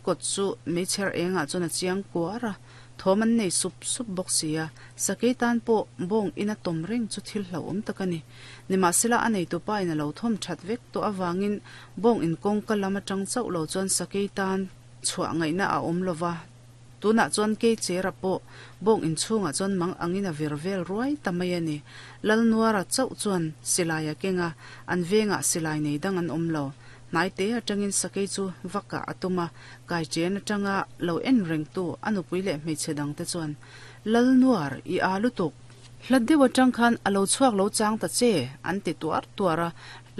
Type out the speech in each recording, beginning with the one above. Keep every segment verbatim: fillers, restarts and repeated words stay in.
Kawt chu meichher engah chuan a chiang kuar a, thawm an nei sup sup bawk si a, sakei tan pawh bawng ina tawm reng chu thil hlauhawm tak a ni. Nimahsela a nei tupa in a lo thawm that vek tawh avangin bawng in kawngka lam atang chauh lo chuan sakei tan chhuah ngaihna a awm lova, tunah chuan kei chera pawh bawng in chhungah chuan mang angin a vir vel ruai ta mai a ni. Lalnuara chauh chuan silai a keng a, an vengah silai nei dang an awm lo. Hnai te atangin sakei chu vaka a tum a, kai chen atanga lo en reng tu a nupui leh hmeichhe dang te chuan Lalnuar i a lutuk hlat deuh atang khan a lo chhuak lo chang ta che an ti tuar tuar a,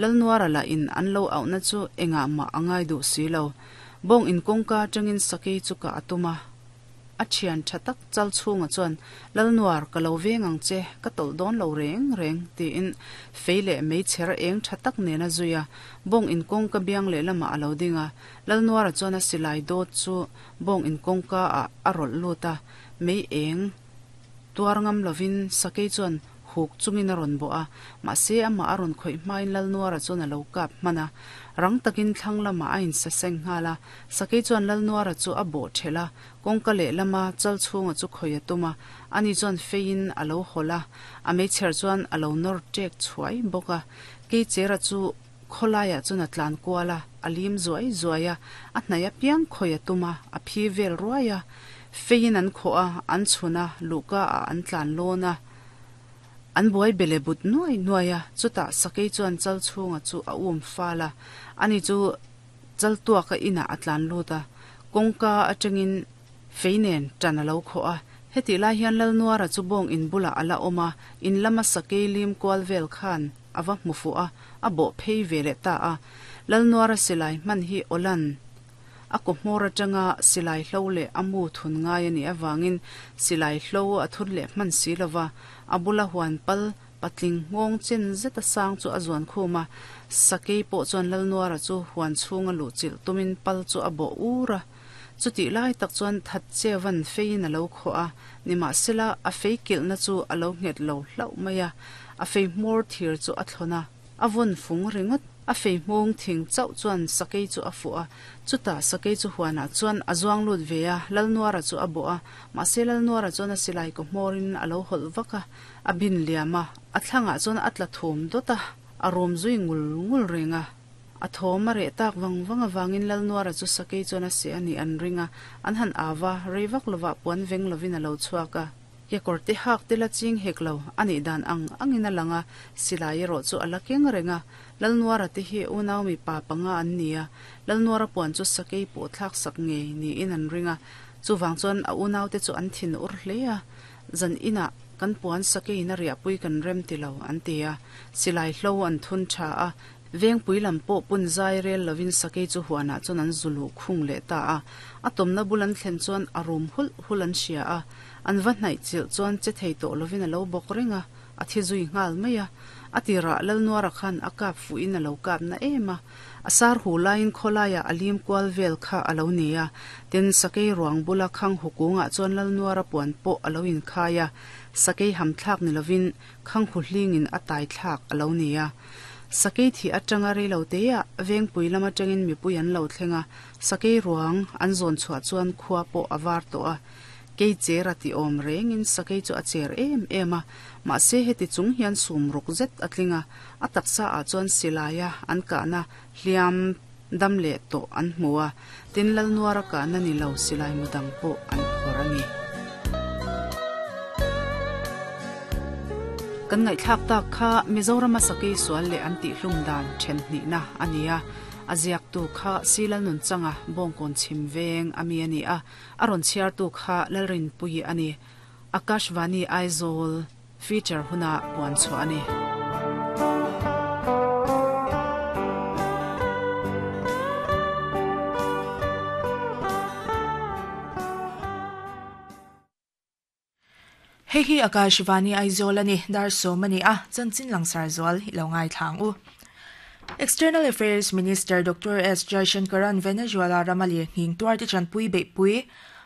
Lalnuara lah in an lo auhna chu engah mah a ngai duh si lo. Bawng in kawngka atangin sakei chu ka a tum a, a thian tha tak chal chhunga chuan Lalnuar ka lo veng ang che ka tawlh dawn lo reng reng tiin fei leh meichher eng tha tak nen a zui a, bawng in kawngka biang leh lamah a lo ding a, Lalnuara chuan a silai dawt chu bawng in kawngka ah a rawlh lut a, mei eng tuar ngam lovin sakei chuan huk chungin a rawn bawh a, mahse amah a rawn khawih hmain Lalnuara chuan a lo kap hman a, rang takin thlang lamah a insa seng nghal a, sakei chuan Lalnuara chu a bawh thelh a, kawngka leh lama chal chhunga chu khawih a tum a, ani chuan feiin a lo hawlh a, a meichher chuan a lo nawr tek chhuai bawk a, kei chera chu khawlaiah chuan a tlan kual a, a lim zuai zuai a, a hnai apiang khawih a tum a, a phi vel ruai a, feiin an khawh a, an chhun a, luhka ah an tlan lawn a, an buai bele but nuai nuai a, chutah sakei chuan chal chhunga chu a um fal a, ani chu chal tuaka inah a tlan lut a, kawngka atangin fei nen tan a lo khawh a, heti lai hian Lalnuara chu bawng in bulah a la awm a, in lama sakei lim kual vel khan a va hmu fuh a, a bawh phei ve leh ta a, Lalnuara silai hman hi awlan a kaw hmawr atanga silai hlo leh a mu thun ngai a nih avangin silai hlo a thun leh hman si lova, a bula huan pal patling nghawng chen zet a sang chu a zuan khum a, sakei pawh chuan Lalnuara chu huan chhunga luh chilh tumin pal chu a bawh ur a, chuti lai tak chuan that chevan feiin a lo khawh a, nimahsela a fei kilhna chu a lo nghet lo hlauh mai a, a fei hmawr thir chu a thlawn a, a vawn fung ringawt, a fei hmawng thing chauh chuan sakei chu a fuh a, chutah sakei chu huanah chuan a zuang lut ve a, Lalnuara chu a bawh a, mahse Lalnuara chuan a silai kaw hmawrin a lo hawlh vak a, a bin liam a, a thlangah chuan a tla thum dawt a, a rum zui ngul ngul reng a, a thawm a reh tak vang vang avangin Lalnuara chu sakei chuan a seh a nih an ring a, an han ava, rei vak lovah puan veng lovin a lo chhuak a, kekawr te hak te la ching hek lo a nih dan ang angin a lang a, silai erawh chu a la keng reng a, Lalnuara te hi unau mipa panga an ni a, Lalnuara puan chu sakei pawh thlak sak ngei niin an ring a, chuvang chuan a unau te chu an thin ur hle a, zan inah kan puan sakeiin a riahpui kan rem ti lo an ti a, silai hlo an thun tha a, vengpui lam pawh pun zai rel lovin sakei chu huanah chuan an zulu khung leh ta a, a tawmna bul an thlen chuan a rum hulh hulh an hria a, an va hnaih chilh chuan che thei tawh lovin a lo bawk reng a, a thi zui nghal mai a, a tirah Lalnuara khan a kap fuhin a lo kap na em a, a sar hu laiin khawlaiah a lim kual vel kha a lo ni a, tin sakei ruang bula khang hukungah chuan Lalnuara puan pawh a lo inkhai a, sakei ham thlak ni lovin khang hu hlingin a tai thlak a lo ni a. Sakei thi atanga rei lo te ah vengpui lam atangin mipui an lo thleng a, sakei ruang an zawn chhuah chuan khua pawh a var tawh a, kei cher a ti awm rengin sakei chu a cher em em a, mahse heti chung hian sum ruk zet a tling a, a taksa ah chuan silai a an kahna hliam dam leh tawh an hmu a, tin Lalnuara kahna ni lo silai mu dang pawh an phawrh a ni. Kan ngaihthlak tak kha Mizorama sakei sual leh an tih hlum dan then hnihna a ni a, a ziaktu kha Silalnun changa bawngkawn chhim veng ami a ni a, a rawn chhiartu kha Lalrinpui a ni. Akashvani Aizawl feature huna puan chhuah a ni. Hei hi Akashvani Aizawl a ni, dar sawm a ni a, chanchin langsar zual i lo ngaithlang u. External Affairs Minister Doctor S Jaishankaran Venezuela rama lirnghing tuar te chanpui beihpui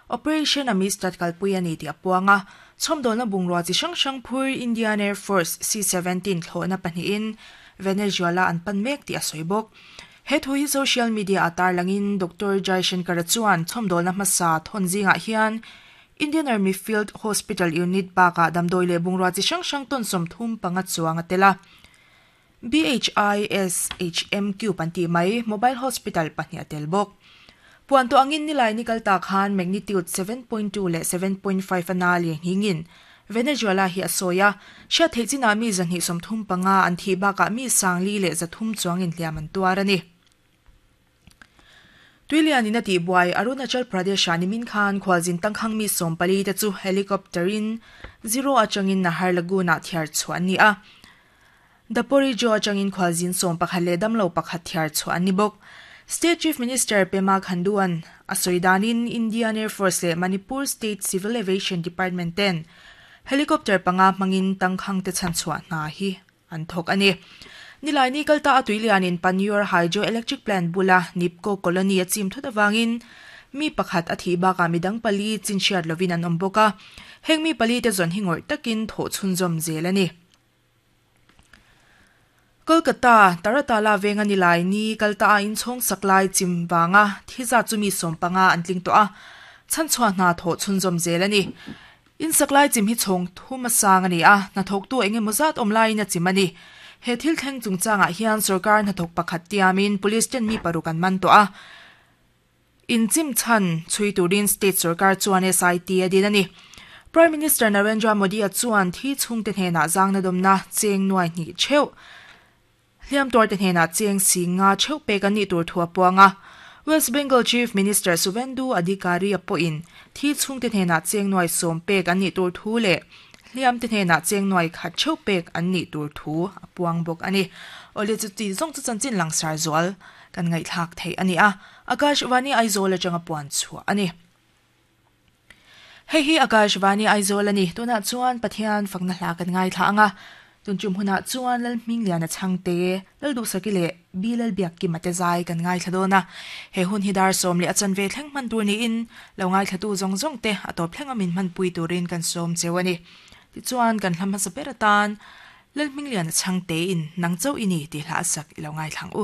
Operation Amistad kalpui a ni tih a puang a, chhawmdawlna bungrua chi hrang hrang phur Indian Air Force C seventeen thlawhna pahnihin Venezuela an pan mek tih a sawi bawk. He thu hi social media atar langin Doctor Jaishankar chuan chhomdol na hmasa thon zinga hian Indian Army Field Hospital Unit baka damdoi le bungrua chi hrang hrang ton som thum panga chuang atela B H I S H M Q panti mai mobile hospital pahnih atel bawk. Puan to angin nilai ni kalta khan magnitude seven point two le seven point five ana hingin Venezuela hi asoya sha theichina mi zanhi somthum panga an thi baka mi sangli le zathum chuangin hliaman tuarani. Tuilian in ati buai Arunachal Pradesh ani min khan khwaljin tangkhang mi sompali te chu helicopterin zero achangin Nahar Laguna thiar chuan ni a. Dapori jo achangin khwaljin som pakhat le damlo pakhat thiar chuan ni bok. State Chief Minister Pema Khanduan asoidanin Indian Air Force le Manipur State Civil Aviation Department ten helicopter panga mangin tangkhang te chan chua na hi an thok ani. Nilai ni kalta atuilian in Panyor Hydroelectric Plant bula Nipco Colony achim thutawangin mi pakhat athi ba ka midang pali chinchiat lovin an omboka heng mi pali te zon hingor takin tho chunzom zelani. Kolkata Taratala venga nilai ni kalta in chong saklai chimwanga thiza chumi sompanga antling to a chan chua na tho chunzom zelani. In saklai chim hi chong thuma sang ani a na thok tu enge mozat omlai na chimani. He thil thleng chungchanga hian sarkar na thok pakhat tiamin police ten mi parukan man to a in chim chan chui turin state sarkar chuan S I T adin ani. Prime Minister Narendra Modi a chuan thi chung te hena zang na domna cheng nuai ni cheu hliam tor te hena cheng singa cheu pe kan ni tur thua puanga. West Bengal Chief Minister Suvendu Adhikari apoin thi chung te hena cheng nuai som pe kan ni tur thu le hliam te hena cheng nuai khat cheu pek an ni tur thu apuang bok ani. Ole chu ti zong chu chanchin langsar zual kan ngai thak thei ani a. Akashvani Aizawl atanga puan chu ani. Hei hi Akashvani Aizawl ani tuna chuan Pathian fakna hla kan ngai thla anga tun chum huna chuan lal hming lian a changte lal du sakile bilal biak ki mate zai kan ngai thladona he hun hi dar som le achan ve thleng man tur ni in lo ngai thlatu zong zong te atop thleng amin man pui turin kan som chewani ti chuan kan hlam sa peratan lal hming lian a changte in nang chau ini ti hla sak ilo ngai thlang u.